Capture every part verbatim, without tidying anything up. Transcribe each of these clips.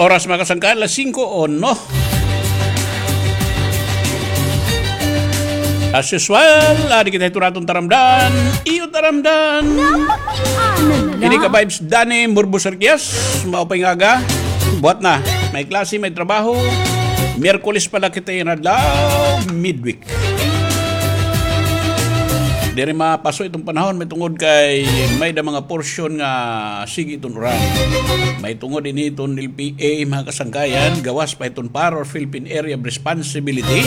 Oras, mga kasangkayan, alas singko uno. As usual, adi kita hito naton taramdan. Iyo taramdan. Napakiana la. Ini ka vibes, Danny Murbos Arquias. Maupay nga aga. Buhat na. May klase, may trabaho. Miyerkules pa la kita yana adlaw. Midweek. Diri mapaso iton panahon, may tungod kay may da mga porsyon nga sige iton uran. May tungod ini iton L P A, mga kasangkayan, gawas pa iton Power of Philippine Area of Responsibility.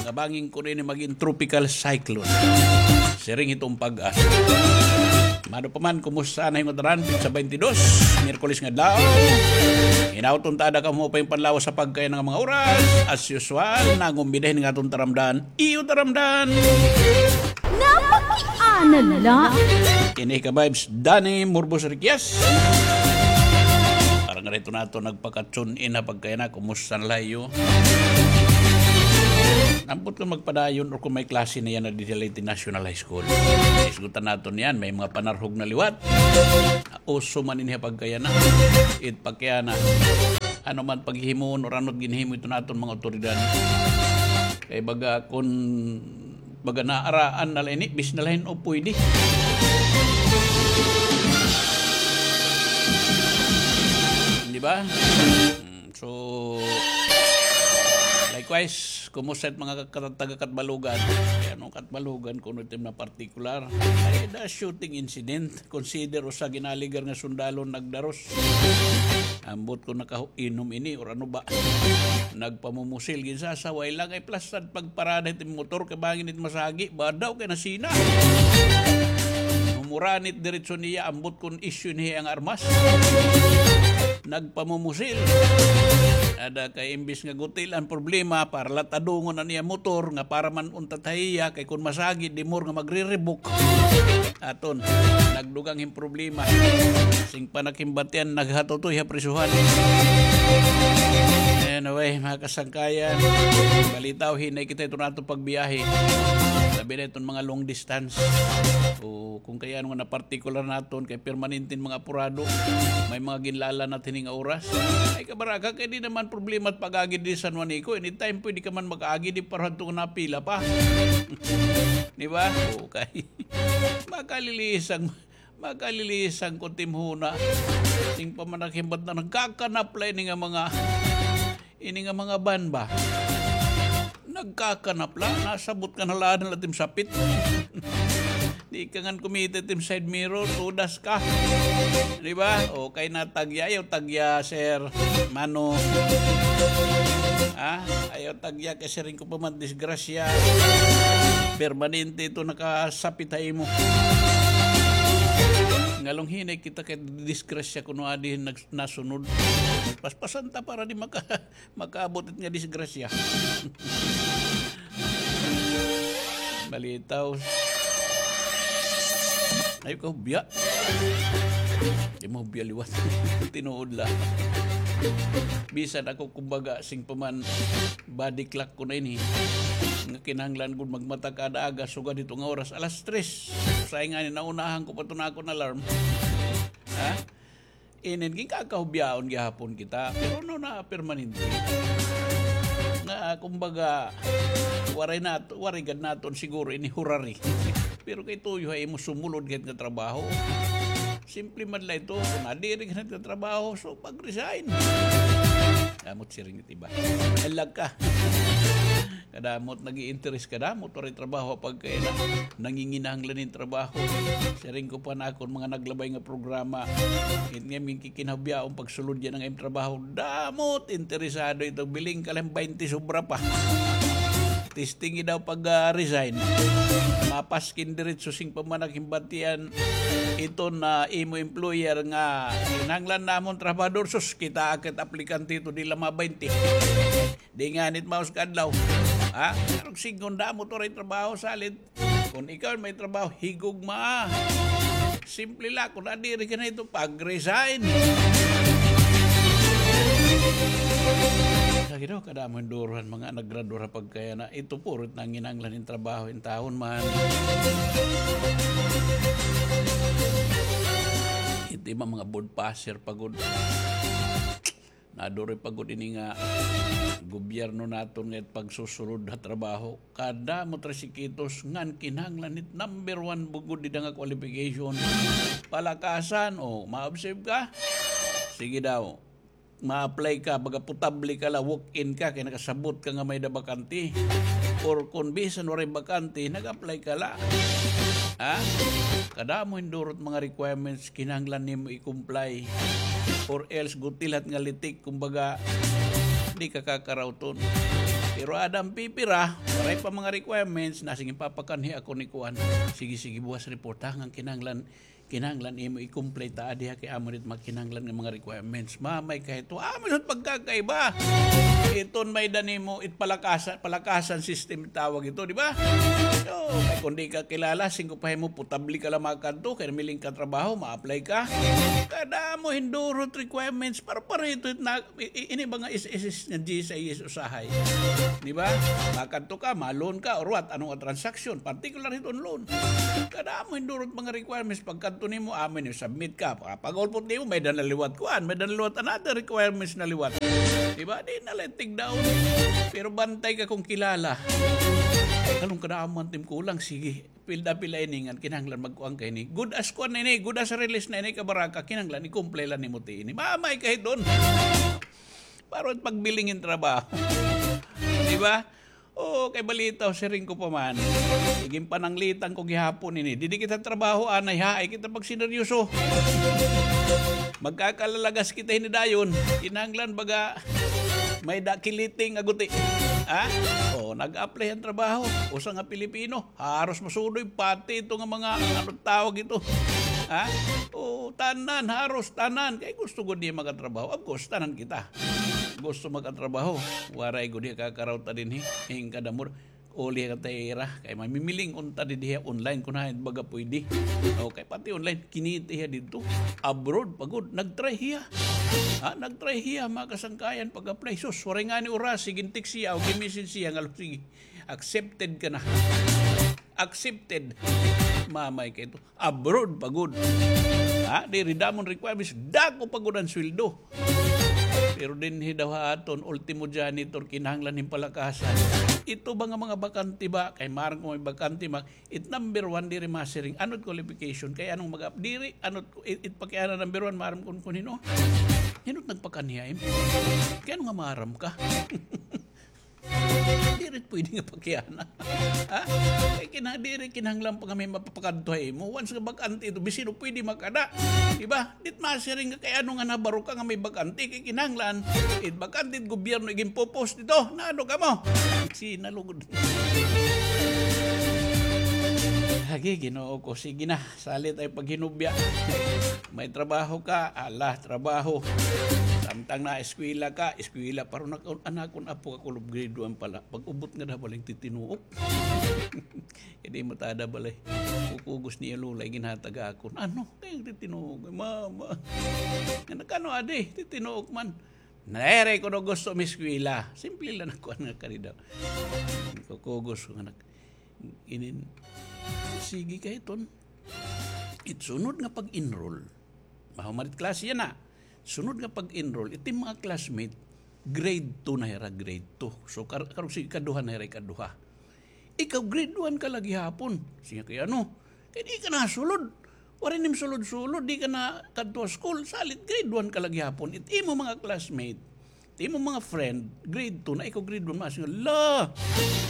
Nga bangin kuno ini magin tropical cyclone. Siring iton PAGASA. Mano pa man, kumusta na hin ngatanan? Petsa baynte dos, Miyerkules nga adlaw. Hinaut unta ada kamo maupay nga panlawas ha pagkayana nga mga oras. As usual, nangumbida hini nga aton taramdan. Iyo taramdan. Napakiana la. Ini ka vibes, Danny Murbos Arquias. Para ngada hito naton nagpaka-tune in ha pagkayana, kumusta na la iyo? Ambot kon magpadayon or kon may klase na yana didi ha Leyte National High School. Isgutan naton yana, may mga panarhog na liwat. Uso man ini ha pagkayana. It pagkayana. Ano man paghihimuon or ano it ginhimo iton aton mga awtoridad. Kay baga kon baga naaraan na la ini, bis na la hin o pwede. Di ba? Mm, so, likewise, kumusta it mga kat-, taga Catbalogan? Kay ano Catbalogan, kuno iton mga partikular? Ay, the shooting incident. Consider usa ginaligar nga sundalo nagdaros. Ambot kon nakainom ini or ano ba. Nagpamumusil, ginsasaway la kay plastad pagparada hit motor kay bangin it masagi, badaw kay nasina. Humuranit diretso niya, ambot kon isyu niya an armas. Nagpamumusil. Ada kay imbis nga guti-an problema, para la tadungon an iya motor nga para man unta ha iya, kay kon masagi, di more nga magre-revoke. Aton, nagdugang hin problema. Sing panakimbatian, naghatutoy ha prisuhan. Anyway, mga kasangkayan, balitaw, hinay kita iton aton pagbiyahe. Labi na iton mga long distance. O, kon kay ano nga napartikular naton, kay permanente nga mga apurado. May mga ginlalanat hini nga oras. Ay, kabaraka, kay di naman problema it pag-agi didi San Juanico. Anytime pwede ka man mag-agi, di para hadto nga napila pa. Di ba? Okay. Makalilisan, makalilisan ko timhuna. Sing pamanaghimbat na nagkakanapla ini nga mga, ini nga mga van ba? Nagkakanapla, nasabot ka na la, na la tim sapit. Di ka ngan kumita tim side mirror, tudas ka. Di ba? Okay na, tagya, ayaw tagya, sir. Mano. Ha? Ayaw tagya kay siring ko pa man, disgrasya. Permanente ito nakasapit ha imo. Ngalong hinay kita kay disgrasya kuno adi nag-, nasunod. Paspasan ta para di maka-, makaabot it nga disgrasya. Balitaw. Ayaw ka hubya. Di mo hubya liwat. Tinuod la. Bisan ako, kumbaga, sing pa man, body clock ko na ini. Nga kinahanglan gud magmata kada aga, sugad hito nga oras, alas tres. Usahay ngani, naunahan ko pa ito na akon alarm. Ha? Inin, ginkakahubyaon gihapon kita, pero no na permanente. Nga, kumbaga, waray nat-, waray gad naton siguro ini hurari. Pero kay tuyo ha imo sumulod gad nga trabaho. Simple man la ito, kon nadiri gad nga trabaho, so pag-resign. Amot siring Di ba? Alag ka. Kadamot nag-i-interes, kadamot waray trabaho, pagkay na, nanginginahanglan hin trabaho. Siring ko pa na akon mga naglabay nga programa. It nga, minkikinahubyaon pagsulod yana nga im trabaho. Damot interesado ito. Biling ka lang baynte sobra pa. Testing daw pag, ah, resign. Mapaskin diretso sing pamanaghimbat iton, ah, imo employer nga kinahanglan namon trabahador, sus, kita akit aplikante ito, di la ma baynte. Di ngani it maus ka adlaw. Ha? Karog sigon, damo to ray trabaho, salit. Kon ikaw may trabaho, higugma. Simple la, kon nadiri ka na ito, pag-resign. Lagi daw, kadamo hin duruhan, mga nagradura pagkaya na. Ito puro it nanginahanglan hin trabaho, intawon man. Ito Mga, mga board passer pa gud. Naduri pa gud ini nga gobyerno naton nga pagsusulod ha trabaho. Kadamo it requisitos ngan kinahanglan it number one bugod dida nga qualification. Palakasan, o, ma-observe ka? Sige daw. Ma-apply ka, baga potable ka la, walk-in ka, kay nakasabot ka nga may-ada bakante. Or kon bisan waray bakante, nag-apply ka la. Ha? Kadamo hindurot mga requirements kinahanglan nimo i-comply. Or else, gutilat nga litik, kumbaga, di ka kakarawton. Pero aada an pipira, waray pa mga requirements, na sige papakanhi ako ni kuan. Sige, sige, buwas report ha, ngan kinahanglan, kinahanglan imo i-comply ta, adi ha, kay amo it mga kinahanglan nga mga requirements. Mamay ka hito, amo it pagkakaiba. Iton may-ada nimo, it palakasan, palakasan system tawag ito, di ba? So, kay kon di ka kilala, singko pa himo, potable ka la makadto, kay namiling ka trabaho, ma-apply ka. Kadamo hindurot requirements, para, para ito na, i-, i-, ini ba nga S S S nga G S I S usahay? Di ba? Makadto ka, ma-loan ka, or what? Ano nga transaction? Particular hiton loan. Kadamo hindurot mga requirements, pagkadto nimo, amo ini, submit ka. Pa-, pag-ulpot nimo, may-ada na liwat kuan, may-ada na liwat another requirements na liwat. Di ba? Di na la tigdaon. Pero bantay ka kon kilala. Anong kadamo an tim kulang? Sige. Pilda-pilda ini ngan kinahanglan magkuan ka ini. Good as kuan na ini, good as release na ini, kabaraka, kinahanglan i-comply la nimo ti ini. Mamay ka hiton. Para pagbiling hin trabaho. Di ba? O, kay balitaw, siring ko pa man. Iginpananglitan ko gihapon ini. Didi kita trabaho, anay, ha? Ay kita pagsineryoso. Magkakalalagas kita hini dayon. Kinahanglan baga may-ada kiliting nga guti. Ha? O, nag-apply an trabaho. Usa nga Pilipino. Haros masudoy, pati ito nga mga, ano tawag ito? Ha? O, tanan, haros tanan. Kay gusto gud niya makatrabaho. Of course, tanan kita gusto makatrabaho. Waray gud niya kakarawta dinhi. Hingkadamor. Uli ka ta ira. Kay mamimiling unta dinhi online kon hain baga pwede. Okay, pati online. Kinita hiya didto. Abroad pa gud. Nag-try hiya. Ha? Nag-try hiya, mga kasangkayan, pag-apply. Sus, waray ngani oras. Sige, text siya o gi-message siya nga, sige. Accepted ka na. Accepted. Mamay ka ito. Abroad pa gud. Ha? Diri damo an requirements. Dako pa gud an sweldo. Pero dinhi daw ha aton, ultimo janitor, kinahanglan hin palakasan. Ito ba nga mga bakante ba? Kay maaram ko may bakante, ma-, it number one, diri masiring. Ano it qualification? Kay anong mag-, diri, ano it, it pakiana number one, maaram kon, kon hin-o. Hin-o it nagpakanhi ha imo? Kay ano nga maaram ka? Diri pwede nga pakiana. Ha? Kay kina-, diri kinahanglan pa nga may mapapakadto ha imo. Once nga bakante ito, bisan pwede makada. Di ba? Di it masiring nga kay ano nga nabaro ka nga may bakante. Kay kinahanglan, it bakante it gobyerno iginpo-post ito. Na ano kamo? Sinalugod. Lagi, Ginoo ko. Sige na. Salit ay paghinubya. May trabaho ka, ala, trabaho. Samtang naeskwela ka, eskwela. Pero nak-, an akon apo kakulob grade one pa la. Pag-ubot nga daw balay titinuok. Kay di matada balay. Kukugos niya lola, ginhatag akon. Ano? Kay titinuok, mama. Nga nakano adi, titinuok man. Nere ko daw gusto miskwela. Simple lang ako nga kani daw. Kukugos ko nga nak-, inin. Sige kay ton. It sunod nga pag-enroll. Mahuman it klase yana. Sunod nga pag-enroll, it im mga classmate, grade two na hira, grade two. So, kar-, karong sige, ikaduha na hira, ikaduha. Ikaw, grade one ka la gihapon. Sige, kay ano? Kay di ka nasulod. Waray nim sulod-sulod, di ka nakadto ha school. Salit, grade one ka la gihapon. It imo mga classmate, it imo mga friend, grade two na, ikaw grade one, masiring, "Hala!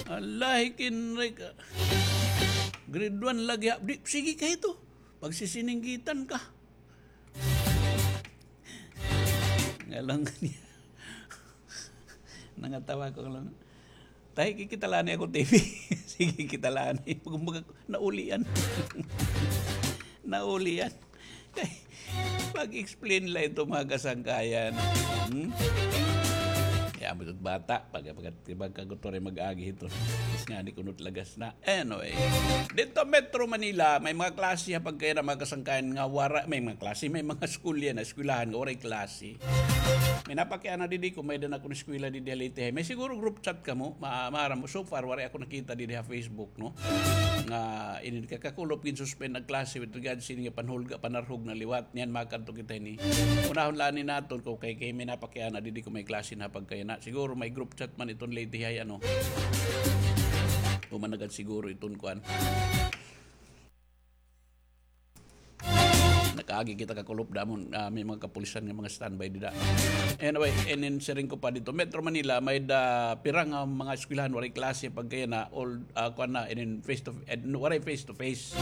Hala, hikinray ka. Grade one la gihap-, di, sige kay ito. Pagsisininggitan ka." Nga lang niya. Nangatawa ko lang. Tay, kikita la anay ako T V. Sige, kita la anay. Kumbaga, naulian. Naulian. Kay, pag-explain la ito, mga kasangkayan. Hmm? Kay amo it bata, pag, pag, pagkagutoray mag-agi hito. Mas nga ni kunot lagas na. Anyway, didto Metro Manila, may mga klase ha pagkayana mga kasangkayan nga waray, may mga klase, may mga eskwela na, eskwelahan nga waray klase. May napakiana didi ko, may-ada na akon eskwela didi ha Leyte High. May siguro group chat kamo, ma-, maaram mo. So far, waray ako nakita didi ha Facebook, no? Nga, inin kakakulop, gin-suspend an klase with regards sini nga panhulga, panarhog na liwat. Niyan, makadto kita ini. Unahon la ini naton ko kay, kay may napakiana didi ko may klase na pagkayana. Siguro may group chat man iton Leyte High, ano. Human na gad siguro iton kuan. Nakaagi kita kakulop damon, ah, may mga kapulisan nga mga standby dida. Anyway, inin siring ko pa didto Metro Manila, may-ada pira nga mga eskwelahan waray klase pagkayana, all, ah, kuan na, inin face to, eh, waray face to face.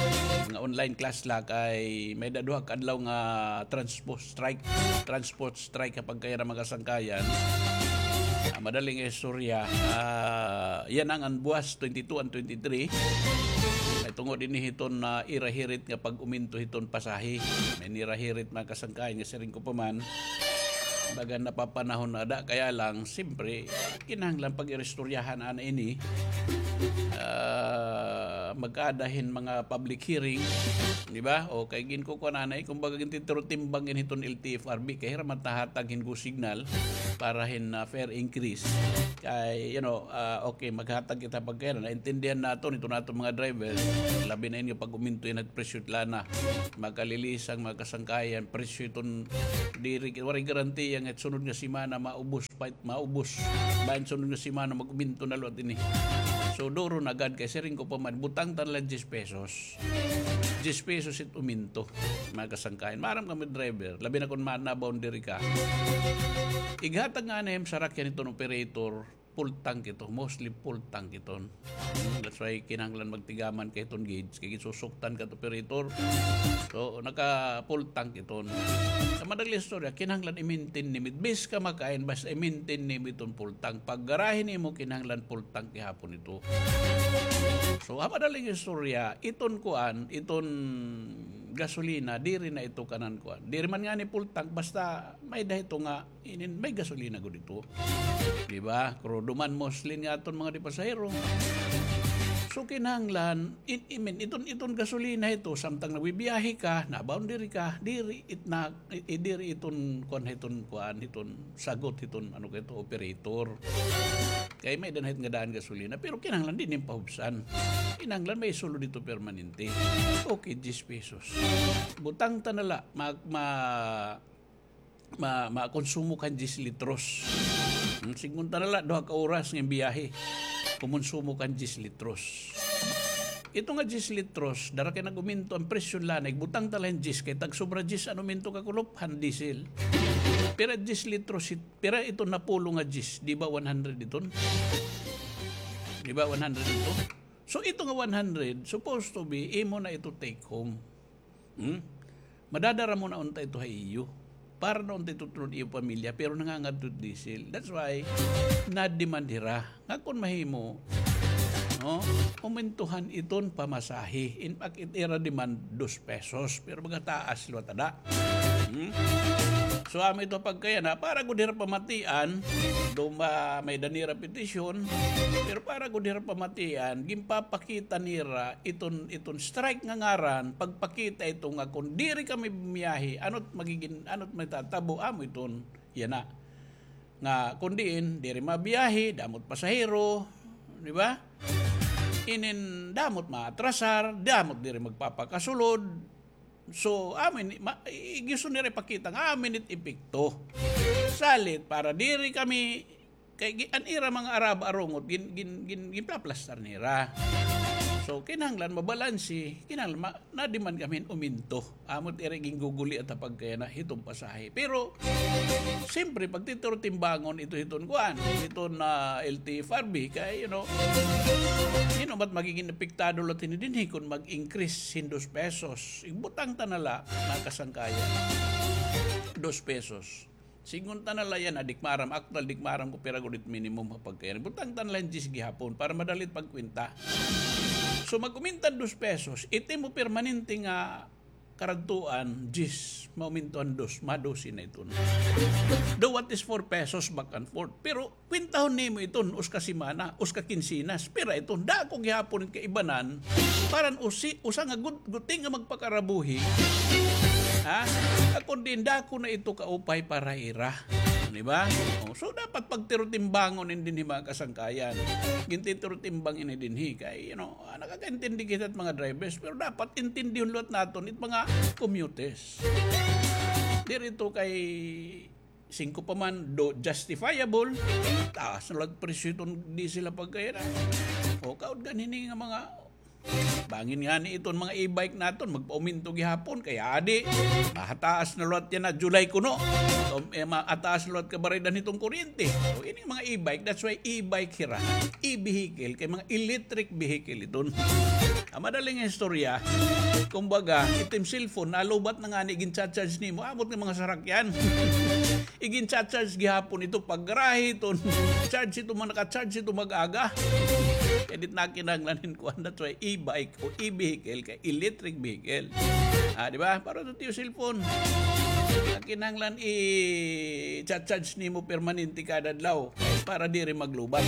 Mga online class la kay may-ada duha ka adlaw nga transport strike. Transport strike ha pagkayana mga kasangkayan. Ah, madaling istorya. Ah, yana nga buwas twenty-two and twenty-three. Ay tungod ini hiton na ira hirit nga pag-uminto hiton pasahe. May nira hirit mga kasangkayan nga siring ko pa man. Baga napapanahon na ada, kaya lang, siyempre, kinahanglan pag-iristoryahan ana ini. Ah, magkaada hin mga public hearing, di ba? O kay ginkukuan ana, eh, kumbaga, gintitirutimbang gin hiton L T F R B, kay hira man tahatag hin go signal para hin, ah, fare increase. Kay, you know, ah, okay, maghatag kita pagkayana, naintindihan naton, ito naton mga driver, labi na ini pag-uminto yana presyo hit lana. Makalilisang, mga kasangkayan, presyo hiton diri, waray garantiya nga sunod nga semana maubos, pa it maubos. Bangin sunod nga semana mag-uminto na liwat ini. So, duro na gad kay siring ko pa man, butang ta na la diyes pesos. Diyes pesos it uminto, mga kasangkayan. Maaram kamo driver, labi na kon ma-, na-boundary ka. Ighatag ngani hin sarakyan hiton operator, full tank ito, mostly full tank iton. Hmm, that's why kinahanglan magtigaman ka hiton gauge, kay ginsusuktan ka hit operator. So, naka-full tank iton. Sa madaling istorya, kinahanglan i-maintain nimo. Bis ka makain, basta i-maintain nimo iton full tank. Pag garahe nimo, kinahanglan full tank gihapon ito. So, ha madaling istorya, iton kuan, iton gasolina, diri na ito kanan kuan. Diri man ngani full tank, basta may-ada ito nga inin may gasolina gud ito. Di ba? Krudo man, mostly nga aton mga di pasahero. So, kinahanglan, in, I mean, iton, iton gasolina ito, samtang nagbibiyahe ka, na-boundary ka, diri it na, i-, i-, diri iton kuan, iton kuan, iton sagot, iton ano ka ito, operator. Kay may-ada na hit nga daan gasolina, pero kinahanglan diri pahubsan. Kinahanglan may sulod ito permanente. Okay, diyes pesos. Butang ta na la, mag, ma-, ma-, makonsumo ka hin diyes litros. Hmm, sidngon ta na la, duha ka oras nga biyahe. Kumonsumo ka hin diyes litros. Ito nga diyes litros, dara kay nag-uminto an presyo hit lana, igbutang ta la hin diyes, kay tag-sobra diyes an uminto kakulop han diesel. Pira diyes litros, it-, pira ito napulo nga diyes, di ba one hundred iton? Di ba one hundred ito? So, ito nga one hundred, supposed to be, imo na ito take home. Hmm? Madadara mo na unta ito ha iyo. Para na unta ito tungod iyo pamilya, pero nangangadto diesel. That's why, na-demand hira. Nga kon mahimo, no? Umintuhan iton pamasahe. In fact, it ira demand dos pesos. Pero magataas liwat ada. Hmm? So, amo ito pagkayana, para gud hira pamatian, duma may-ada nira petisyon, pero para gud hira pamatian, ginpapakita nira iton, iton strike nga ngaran, pagpakita ito nga kon diri kami bumiyahe, ano't magigin-, ano't matatabo, amo iton, yana. Nga kon diin, diri mabiyahe, damo't pasahero, di ba? Inin damo't maatrasar, damo't diri magpapakasulod. So, amin, ma-, i-, gusto nira ipakita nga amin it epekto. Salit, para diri kami, kay gi-, an ira mga araba arungot, gin-, gin-, gin-, ginpaplastar nira. So, kinahanglan mabalanse, kinahanglan ma-, na-demand kami hin uminto. Amo't ira ginguguliat ha pagkayana hiton pasahe. Pero, siyempre, pagtitirtimbangon ito hiton kuan, hiton, ah, L T F R B, kay, you know, you know, ba't magigin apektado la hini dinhi kon mag-increase hin dos pesos? Igbutang ta na la, mga kasangkayan. Dos pesos. Sidngon ta na la yana, di ak maaram, aktuwal, di ak maaram kon pira gud it minimum ha pagkayana. Butang ta na la hin diyes gihapon para madali it pagkwenta. So, mag-uminta hin dos pesos, it imo permanente nga karadtuan, diyes, mauminto an dos, ma-dose na iton. Though what is four pesos back and forth. Pero kwentahon nimo iton, uska semana, uska kinsenas, pira iton, dako gihapon it kaibanan, paran usi, usa nga gut-, guti nga magpakarabuhi. Ha? Kon diin dako na ito kaupay para ira. Di ba? O, so, dapat pagtirutimbangon ini dinhi, mga kasangkayan. Gintitirutimbang ini dinhi kay, you know, ah, nakakaintindi kita it mga drivers, pero dapat intindihon liwat naton it mga commuters. Diri ito kay singko pa man, do justifiable, taas na liwat presyo iton diesel ha pagkayana. O, kaud ganhini nga mga bangin ngani iton mga e-bike naton, magpauminto gihapon, kay adi, mahataas na liwat yana July kuno. Um, eh, mahataas na liwat kabaraydan hiton kuryente. So, ining mga e-bike, that's why e-bike hira, e-vehicle, kay mga electric vehicle iton. An madaling istorya, kumbaga, itim cellphone, nalubat na ngani, gin-charge nimo, abot nga mga sarakyan. Igin-charge gihapon ito paggarahe iton. Charge ito man, naka-charge ito mag-aga. Kay di na kinahanglan hin kuan, that's why e-bike o e-vehicle kay electric vehicle. Ah, di ba? Para sa tiyo cellphone. Ang kinahanglan i-charge nimo permanente kada adlaw para diri maglubat.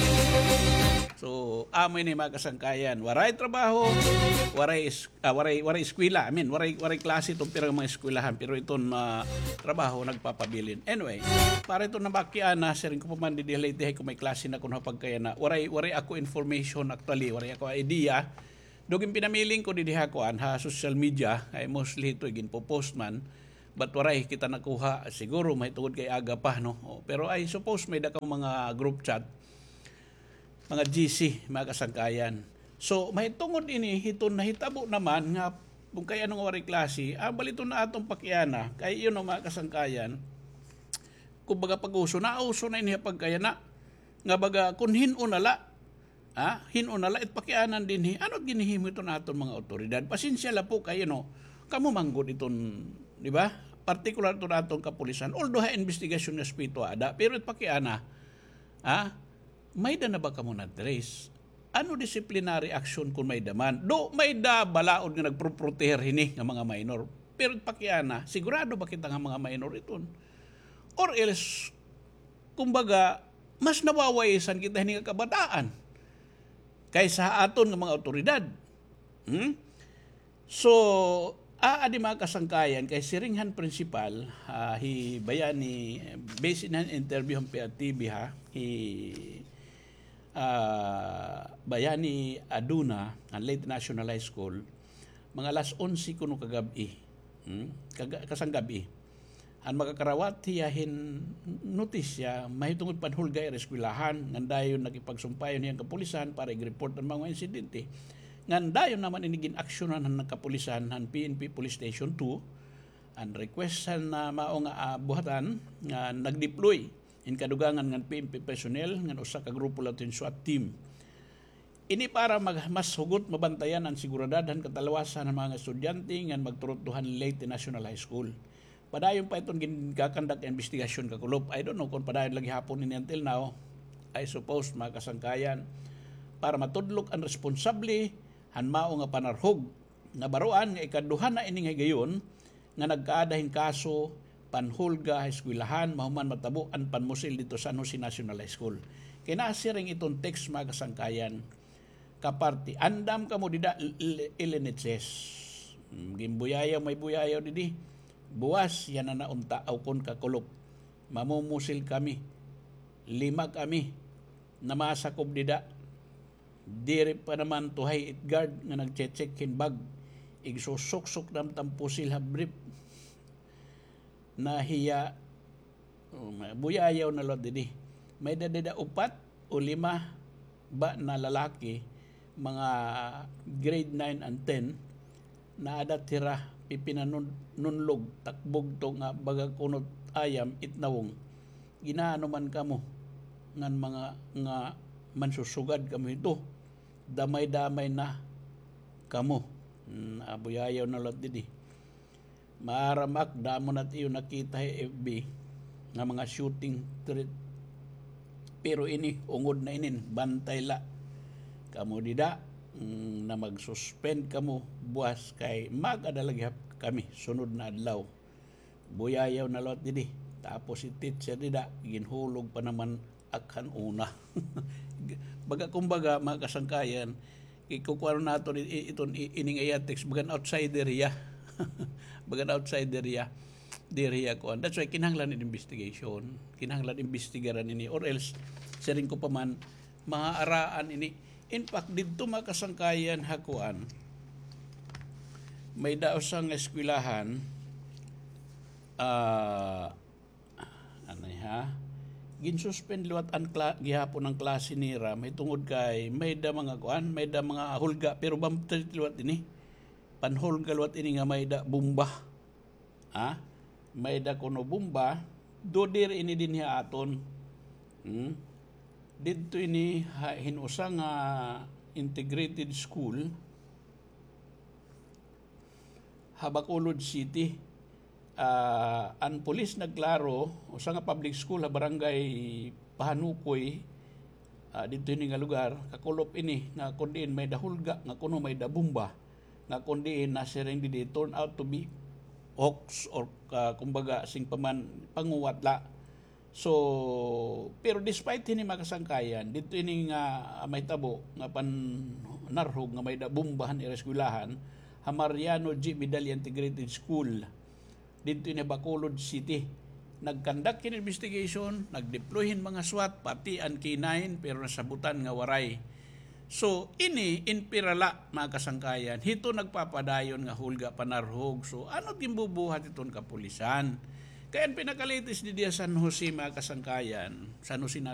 So, amo ini mga kasangkayan. Waray trabaho, waray is-, ah, waray, waray eskwela. I mean, waray, waray klase iton pira nga mga eskwelahan, pero iton, ah, trabaho nagpapabilin. Anyway, para iton nabakiana, siring ko pa man didi ha Leyte, hay ko may klase na kuno ha pagkayana. Waray, waray ako information actually, waray ako idea. Dugin pinamiling ko didi ha kuan, ha social media, ay mostly ito iginpopost man. But waray kita nakuha, siguro mahitungod kay aga pa, no? O, pero I suppose may-ada ka mga group chat, mga G C, mga kasangkayan. So, mahitungod ini, hiton nahitabo naman nga kung kay ano nga waray klase, ah, baliton na aton pakiana, kay yun, no, mga kasangkayan, kumbaga pag-uso, nauso na ini pagkayana, nga baga, kung hin-o na la, ah, hin-o na la, it pakianan dinhi, ano ginhihimo iton aton mga awtoridad? Pasensya la po kayo, no? Kamo man gud iton, di ba? Partikular iton aton kapulisan. Although ha investigasyon nga aspeto ada, pero it pakiana, ah, may-ada na ba kamo na-trace? Ano disciplinary action kung may-ada man? Do, may-ada balaod nga nagproproteher hini nga mga minor. Pero pakiana, sigurado ba kita nga mga minor iton? Or else, kumbaga, mas nawawaisan kita hini nga kabataan kaysa ha aton nga mga awtoridad. Hmm? So, aadi mga kasangkayan, kay siring han principal, ah, hi Bayani, based han interview han P R T V ha, hi, ah, Bayani Aduna, han Leyte National High School, mga alas onse kuno kagab-i. Hmm? Kaga-, kasanggab-i. An makakarawat hiya hin notisya mahitungod panhulga hira eskwelahan, ngan dayon nakipagsumpayon hiya han kapulisan para ig-report an mga insidente. Ngan dayon naman ini gin-aksyonan han kapulisan han P N P Police Station two, an request han, ah, mao nga, ah, buhatan nga nag-deploy hin kadugangan ngan P N P personnel ngan usa ka grupo liwat hin SWAT team. Ini para mag-, mas hugot mabantayan an seguridad han katalwasan han mga estudyante ngan magturutdo han Leyte National High School. Padayon pa iton ginkakandak nga imbestigasyon, Kakulop. I don't know kon padayon la gihapon ini until now. I suppose, mga kasangkayan, para matudlok an responsable han mao nga panarhog. Nabaroan nga ikaduha na ini nga higayon nga nagkaada hin kaso panhulga ha eskwelahan mahuman matabo an panmusil didto San Jose National High School. Kay nasiring iton text, mga kasangkayan, kaparte, andam kamo dida, L-, L-, L N H S. Hmm, ginbuyayaw, may buyayaw didi. Buwas, yana na unta, aw kon Kakulop. Mamumusil kami. Lima kami. Namasakob dida. Diri pa naman tuhay it guard nga nagche-check hin bag. Igsusuksok naman it pusil ha brief. Nahiya, oh, ma-, buyayaw na liwat didi. May-ada dida upat o lima ba na lalaki, mga grade nine and ten, naadat hira, pipinanunlog, takbog to nga baga kunot ayam, it nawong. Gin-aano man kamo ngan mga nga mansusugad kamo hito, damay-damay na kamo. Hmm, abuyayaw na liwat didi. Maaram ak, damo na it iyo nakita ha F B nga mga shooting threat. Pero ini, ungod na inin, bantay la kamo dida, mm, nga mag-suspend kamo buwas kay mag-ada lagi ha kami, sunod na adlaw. Buyayaw na liwat didi. Tapos si teacher dida, ginhulog pa naman ak han una. Baga, kumbaga, mga kasangkayan, ikukuha naton i-, i-, iton i-, ini nga iya text, bagan outsider hiya. Bagan outsider hiya. Diri hiya kuan. That's why kinahanglan in investigation. Kinahanglan imbestigaran ini, or else, siring ko pa man, maaraan ini. In fact, didto, mga kasangkayan, ha kuan, may-ada usa nga eskwelahan, ah, ano ha? Ginsuspend liwat an kla-, gihapon an klase nira, mahitungod kay may-ada mga kuan, may-ada mga hulga, pero bamtay liwat ini. Panhulga liwat ini nga may-ada bomba. Ha? May-ada kuno bomba, do diri ini dinhi ha aton. Hmm? Didto ini ha, hin usa nga integrated school ha Bacolod City. Ah, an pulis nagklaro, usa nga public school ha barangay Pahanukoy, ah, didto ini nga lugar, kakulop ini nga kun diin may-ada hulga, nga kuno may-ada bomba, nga kun diin nasiring didi turn out to be hoax or, ah, kumbaga, siring pa man, panguwat la. So, pero despite hini, mga kasangkayan, didto ini nga, ah, mahitabo nga panarhog nga may-ada bomba han ira eskwelahan, ha Mariano G. Medalla Integrated School, didto ini Bacolod City. Nag-conduct hin investigation, nag-deploy hin mga SWAT, pati an K nine, pero nasabutan nga waray. So, ini, in pira la, mga kasangkayan, hito nagpapadayon nga hulga panarhog. So, ano it ginbubuhat hiton kapulisan? Kay an pinaka-latest didi ha San Jose, mga kasangkayan, San Jose na